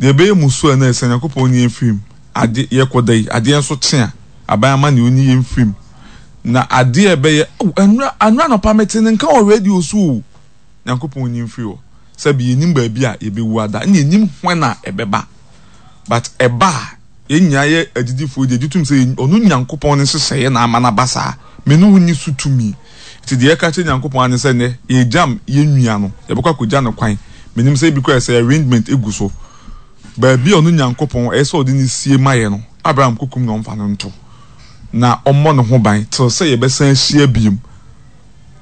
Deɛ ɛbɛyɛ musuo a na ɛsɛ Nyankopɔn nyi yɛn mfiri mu. Ade, yɛkɔ da yi, adeɛ nso kye a, aban amaneɛ ɔnyi yɛn mfiri mu. Na adeɛ a ɛbɛyɛ, oh, ɛnora, ɛnora anɔpa mete ne nka wɔ radio so o. Nyankopɔn nyi mfiri hɔ. Sɛbi yɛnnim baabi a yɛbɛwu ada, ɛna yɛnnim when a ɛbɛba. But ɛba a, yɛn nyinaa yɛ agyidifoɔ deɛ, gye tom sɛ ɔno Nyankopɔn ne nhyehyɛeɛ na ama no aba saa. Me ne wo nni so tumi. Nti deɛ yɛka kyerɛ Nyankopɔn ara ne sɛ nnɛ, yɛregyam yɛn nua no, yɛbɛkɔ akɔgya no kwan. Menim sɛ ebi koraa sɛ arrangement gu so. Baabi a ɔno Nyankopɔn ɛyɛ sɛ ɔde no sie ma yɛn no, Abraham kɔkum na ɔmfa no nto, na ɔmmɔ ne ho ban till sɛ yɛbɛsan ahyia biom.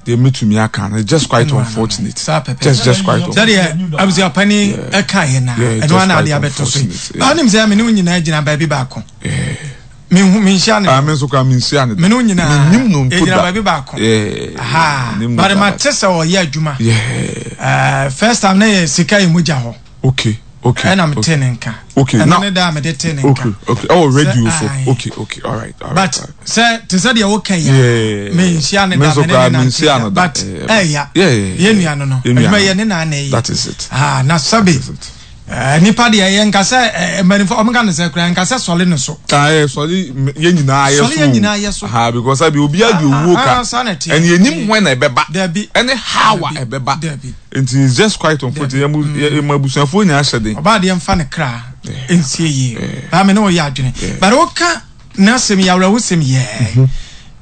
Deɛ mɛtumi aka no, it's just quite unfortunate. Just, just quite unfortunate. Sɛdeɛ abusuapani ɛka yɛ na ɛno ana adeɛ abɛtɔ so yi. Ɔnim sɛ me ne wo nyinaa gyina baabi baako. Menhu menhyia ne. Ah, me nso koraa menhyia ne da. Me ne wo nyinaa. Menim no mpo da. Yɛgyina baabi baako. Yeah. Aha. But mate sɛ ɔyɛ adwuma. Yeah. First time na yɛ sika yɛ mogya hɔ. Okay. Okay. Ɛna me te ne nka. Okay. Ɛno ne da a mede te ne nka. Okay. Okay. Oh, radio so. Okay. Okay. All right. All right. But sɛ te sɛ deɛ woka yi a menhyia ne da me ne ne nante da but ɛya yɛn nua no no adwuma yɛ ne na na ɛyɛ. That is it. Ah, na sɛbe nipa deɛ yɛ nka sɛ mpanimfoɔ ɔmo ka no sɛ koraa nka sɛ sɔle no so. Ah, yɛ sɔle yɛn nyinaa yɛ so. Sɔle yɛn nyinaa yɛ so. Ah, because abi obi adi owuo ka. Ɛna yɛn nim hwan na ɛbɛba. Dabi. Ɛne how a ɛbɛba. Dabi. Nti it's just quite unfortunate. Yɛn mu yɛn mu abusuafoɔ nyinaa hyɛ den. Ɔbaa deɛ nfa ne kra nsie yie. Baa me ne ɔyɛ adwene. But woka n'asɛm yi awerɛhosɛm yɛ.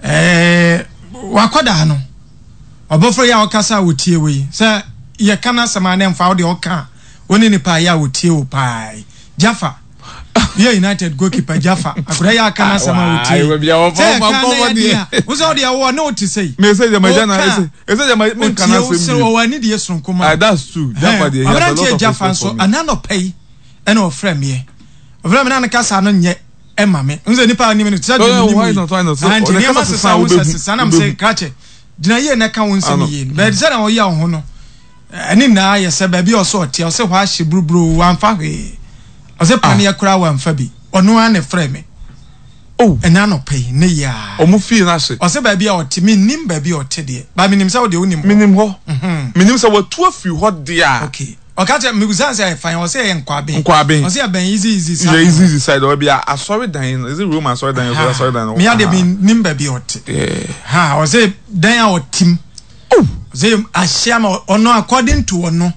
Ɛɛ wakɔdaa no. Ɔbɔfra yi a ɔkasa a wɔtie wo yi sɛ yɛka n'asɛm a na ɛmfa wo deɛ ɔka a wo ne nipa yɛ a wɔtie wo paa yi. Jaffa yɛ United goalkeeper Jaffa akwadaa yi a aka n'asɛm a wɔtie yi sɛ yɛka na yɛ den a wo sɛ wo deɛ wɔ ne wo te sɛ yi. Me sɛ gyama gya na ɛsɛ ɛsɛ gyama me nka n'asɛm bi. Ɔtie wo ɔwɔ anidie soronko ma. Ah that's true Jaffa deɛ he has a lot of respect for me. Aberanteɛ Jaffa nso ɛna anɔpa yi ɛna ɔfrɛ meɛ ɔfrɛ me na ne kasa no nyɛ ɛma me n sɛ nipa anim no te sɛ deɛ menim yi ah nti nneɛma sesa wo sɛ sesa na me sɛ krakye gyina yie na ɛka wo nsɛm yie no bɛɛ sɛ na ɔyɛ wo ho no ɛne nyinaa yɛ sɛ baabi a ɔsɛ ɔte ɔsɛ hɔ ahye buruburo wamfa hwee ɔsɛ paneɛ koraa wamfa bi ɔno ara na ɛfrɛ me Oh. Ɛna anɔpa yi ne yɛ a. Ɔmo fie no ahye. Ɔsɛ baabi a ɔte mennim baabi a ɔte deɛ but menim sɛ wo deɛ wonim hɔ. Menim hɔ. Menim sɛ watu afiri hɔ deɛ a. Okay. Ɔka kyerɛ mebisa no sɛ ɛfa he ɔse ɛyɛ Nkwaben. Nkwaben. Ɔse ɛbɛn easy easy side. Yeah, easy easy side hɔ bia asɔredan no is it Rome asɔredan ɔsɛ asɔredan no. Mea deɛ mennim baabi a ɔte. Yeah. Ha ɔse dan a ɔte mu. Oh. Ɔse ahye ama ɔno according to ɔno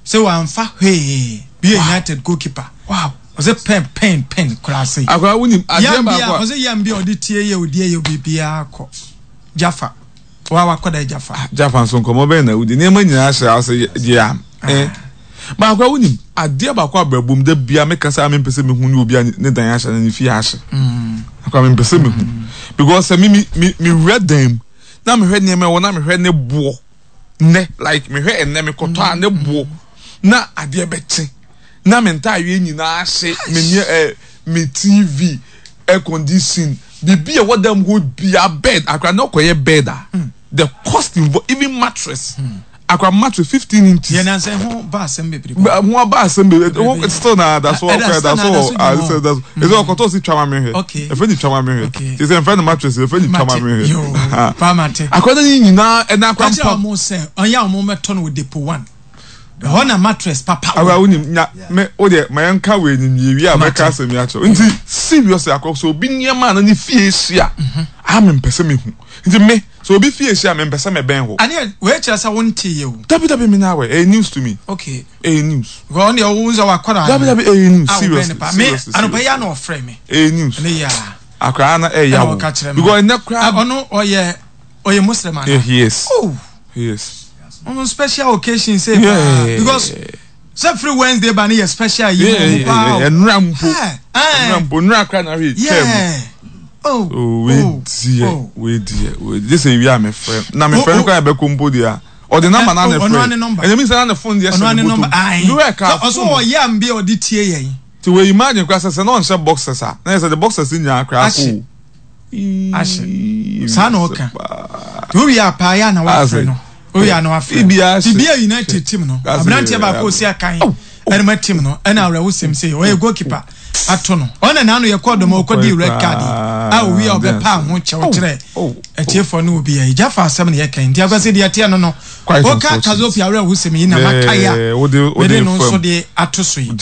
sɛ wamfa hwee bi yɛ United goalkeeper. Wow. Ɔse pɛn pɛn pɛn koraa sei. Akora wonim adeɛ baako a. Ɔse yam bi a ɔde tie yɛ ɔdi yɛ biribiara kɔ. Jaffa. Wa wakɔda Jaffa. Ah, Jaffa nso nkɔmɔ bɛn na wodi nneɛma nyinaa hyɛ ase yɛ am. Eh. Baako a wonim adeɛ baako a brabom da bia meka sɛ mempɛ sɛ mehu ne obi a ne dan ahyɛ na ne fie ahye. Akora mempɛ sɛ mehu. Because sɛ me me me wura dan mu na mehwɛ nneɛma ɛwɔ na mehwɛ ne boɔ nnɛ like mehwɛ ɛnnɛ mekɔtɔ a ne boɔ na adeɛ bɛkye na me ntaadeɛ nyinaa ahye me nneɛ eh, me TV air condition biribi a ɛwɔ dan mu hɔ bia bed akora na ɔkɔyɛ bed a the cost involved even mattress akora mattress 15 inches. Yɛn nansa ho ba asɛm bebree. Ho aba asɛm bebree ho still na da so ɔkɔ da so wɔ ah sɛ da so ɛsɛ ɔkɔtɔ si twa ma mehwɛ ɛfɛ ni twa ma mehwɛ te sɛ nfɛ no mattress ɛfɛ ni twa ma mehwɛ akora ne nyinaa ɛna akora mpa. Kakyɛ ɔmo sɛ ɔnyɛ ɔmo mɛtɔ no wɔ depot one. Ɛhɔ na mattress papa wɔ. Awura wonim nya me wo deɛ ma yɛn ka wei ni wie wie a mɛka asɛm yi akyerɛ nti seriously akɔ sɛ obi nneɛma a na ne fie hyia a me mpɛ sɛ mehu nti me sɛ obi fie hyia me mpɛ sɛ mɛbɛn hɔ. Aneɛ wei kyerɛ sɛ wo nte yɛ o. Dabi dabi me nya awɛ ɛyɛ news to me. Okay. Ɛyɛ news. Because ɔno deɛ wo nsɛ wakɔra. Dabi dabi ɛyɛ news seriously seriously. Me anɔpa yi ana ɔfrɛ me. Ɛyɛ news. Ɛne yɛ a. Akora na ɛyɛ wo. Because ɛnɛ koraa. Ɔno ɔyɛ ɔyɛ Muslim ana. Yeah, he is. Oh. He is. Ɔno special occasion sɛ paa because sɛ free Wednesday ba ne yɛ special yi mu paa. Ɛnura mpo. Ɛnura mpo nura kora na hwɛ twɛ mu. Oh. Oh, wei deɛ, wei deɛ, wei deɛ. Sɛ ewia me frɛ. Na me frɛ no kora ɛbɛkɔ mpo deɛ a. Ɔde namba na ne frɛ. Ɛnyɛ mi sɛ na ne phone deɛ hyɛ ne bɔtɔ mu. Nura ɛka phone. Ɔso ɔyɛ ambi ɔde tie yɛn. Ti wei imagine kora sɛ sɛ na ɔnhyɛ boxers a. Na yɛ sɛ de boxers nyinaa kora akɔ. Ahye. Saa na ɔka. Nti wowie a paa yɛ a na wafrɛ no. Wowie a na wafrɛ no. Biribi a United team no, aberanteɛ baako osi akan ɛnoma team no, ɛna awerɛhosɛm sei, ɔyɛ goalkeeper ato no. Ɔna n'ano yɛ kɔɔ dɔm a ɔkɔdii red card yi a owie a ɔbɛpaa ho kyɛw kyerɛ atiefoɔ ne obi a gya fa asɛm na yɛka nti akwasi deɛ ɛteɛ no no woka Kazopi awerɛhosɛm yi na makae a mede no nso de ato so yi.